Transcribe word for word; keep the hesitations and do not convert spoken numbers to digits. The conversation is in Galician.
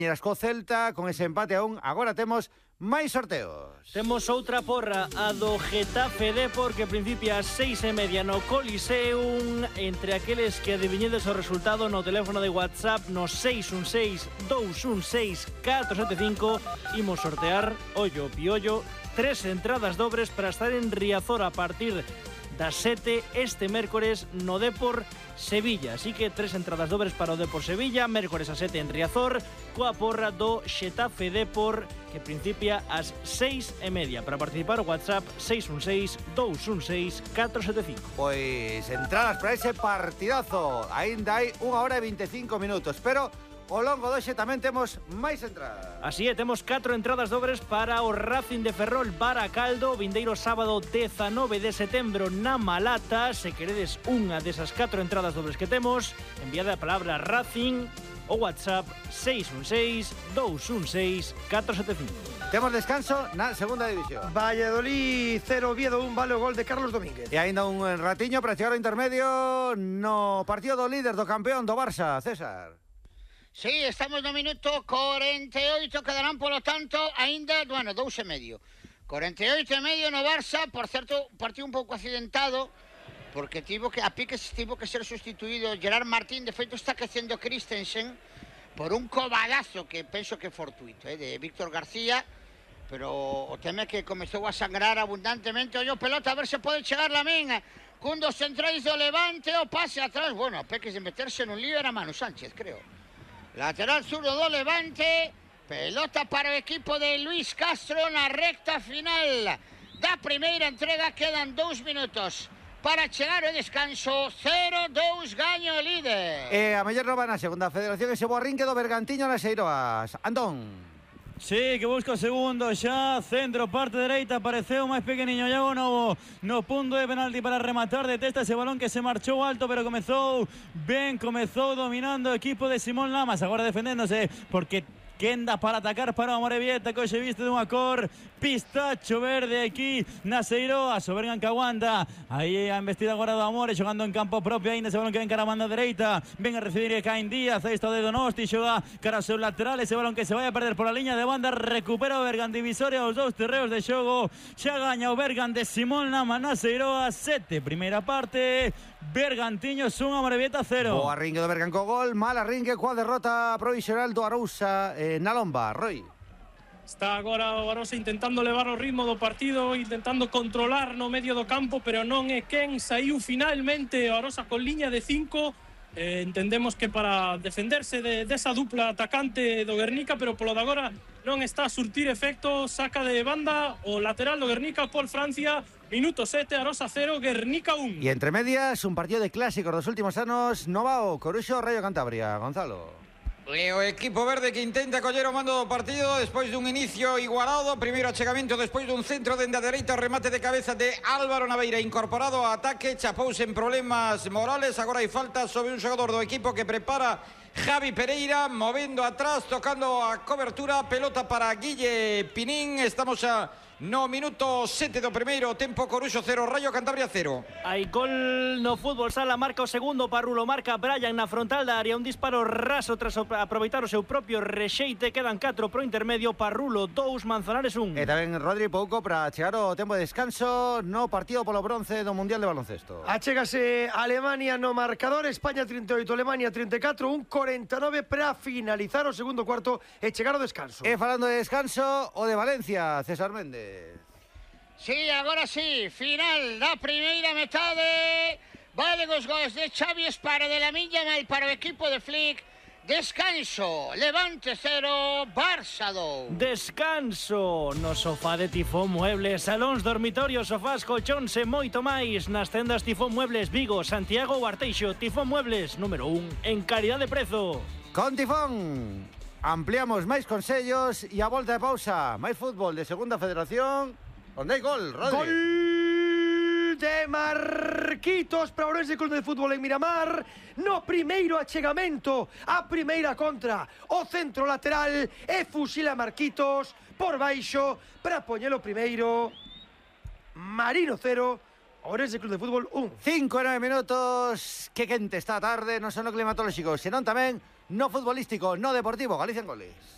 Co Celta, con ese empate aún, agora temos máis sorteos. Temos outra porra, a do Getafe Depor, que principia ás seis e media no Coliseum. Entre aqueles que adiviñedes o resultado no teléfono de WhatsApp no seis un seis, dous un seis, catro sete cinco, imos sortear, ollo piollo, tres entradas dobres para estar en Riazor a partir das sete este mércores no Depor Sevilla. Así que tres entradas dobres para o Depor Sevilla, mércores a sete en Riazor, coa porra do Xetafe Depor, que principia ás seis e media. Para participar o WhatsApp seis un seis, dous un seis, catro sete cinco. Pois entradas para ese partidazo. Ainda hai unha hora e veinticinco minutos, pero ao longo doxe tamén temos máis entradas. Así é, temos catro entradas dobres para o Racing de Ferrol Baracaldo, vindeiro sábado dezanove de setembro na Malata. Se queredes unha desas catro entradas dobres que temos, enviade a palabra Racing o WhatsApp seis un seis, dous un seis, catro sete cinco. Temos descanso na segunda división. Valladolid cero, Oviedo un, vale o gol de Carlos Domínguez. E ainda un ratiño para chegar ao intermedio no partido do líder do campeón do Barça, César. Sí, estamos no minuto cuarenta y ocho, quedarán, polo tanto, aínda, bueno, dous e medio. cuarenta y ocho e medio no Barça, por certo, partido un pouco accidentado, porque tivo que, a piques tivo que ser sustituído Gerard Martín. De feito, está quecendo Christensen por un cobadazo que penso que é fortuito, eh, de Víctor García, pero o tema é que comezou a sangrar abundantemente. Ollo pelota, a ver se pode chegar la min, cun dos centrais do Levante, o pase atrás, bueno, a peques de meterse nun lío era Manu Sánchez, creo. Lateral zurdo do Levante, pelota para o equipo de Luis Castro na recta final da primeira entrega. Quedan dous minutos para chegar ao descanso. Cero dous gaño o líder. E a mellor nova na segunda federación, ese bo arrinque do Bergantiño nas Eiroas. Antón. Sí, que busca o segundo xa, centro, parte dereita, apareceu máis pequeniño Iago Novo no punto de penalti para rematar de testa ese balón que se marchou alto, pero comezou ben, comezou dominando o equipo de Simón Lamas, agora defendéndose porque quenda para atacar para o Amorebieta, que hoxe viste dunha cor pistacho verde aquí nas Eiroas. O Bergan que aguanta aí a embestida agora do Amore, xogando en campo propio, ainda ese balón que ven cara a banda dereita, ven a recibir Caín Díaz, aí está o de Donosti, xoga cara ao seu lateral, ese balón que se vai a perder por a liña de banda, recupera o Bergan divisoria aos dous terreos de xogo, xa gaña o Bergan de Simón Lama nas Eiroas. Sete, primeira parte, Bergantiños un, Amorebieta cero. O arrinque do Bergan co gol, mal arrinque coa derrota provisional do Arousa eh, na Lomba, Roy. Está agora o Arousa intentando levar o ritmo do partido, intentando controlar no medio do campo, pero non é quen. Saiu finalmente o Arousa con liña de cinco. Eh, entendemos que para defenderse de, desa dupla atacante do Guernica, pero polo de agora non está a surtir efecto. Saca de banda o lateral do Guernica, Paul Francia. Minuto sete, Arousa cero, Guernica un. E entre medias, un partido de clásicos dos últimos anos, Novao, Coruxo, Rayo Cantabria. Gonzalo. E o equipo verde que intenta coller o mando do partido despois dun inicio igualado, primeiro achegamento despois dun centro dende a dereita, o remate de cabeza de Álvaro Naveira incorporado ao ataque, chapouse en problemas morales, agora hai falta sobre un xogador do equipo que prepara Javi Pereira, movendo atrás, tocando a cobertura, pelota para Guille Pinín. Estamos a no minuto sete do primeiro tempo, Coruxo cero, Rayo Cantabria cero. Hai gol no fútbol sala, marca o segundo Parrulo, marca Brian na frontal da área, un disparo raso tras aproveitar o seu propio rexeite. Quedan catro pro intermedio, Parrulo dous, Manzanares un. E tamén Rodri pouco para chegar ao tempo de descanso no partido polo bronce do Mundial de Baloncesto. Achégase Alemania no marcador, España trinta e oito, Alemania trinta e catro, un cuarenta e nove para finalizar o segundo cuarto e chegar ao descanso. E falando de descanso, o de Valencia, César Méndez. Sí, agora sí, final da primeira metade. Valen os gols de Xavi Espara, de la Miña Mal para o equipo de Flick. Descanso, Levante cero, Barça dous. Descanso no sofá de Tifón Muebles, salóns, dormitorios, sofás, colchóns e moito máis nas tendas Tifón Muebles Vigo, Santiago ou Arteixo. Tifón Muebles, número un en calidad de prezo. Con Tifón ampliamos máis consellos e a volta de pausa, máis fútbol de segunda federación, onde hai gol, Rodri. Gol de Marquitos para o Ourense Club de Fútbol en Miramar. No primeiro achegamento, a primeira contra, o centro lateral e fusila Marquitos por baixo para poñelo primeiro. Marino cero, Ourense Club de Fútbol un. Cinco e nove minutos, que quente está a tarde, non só no climatolóxico, senón tamén no futbolístico, no deportivo. Galicia en goles.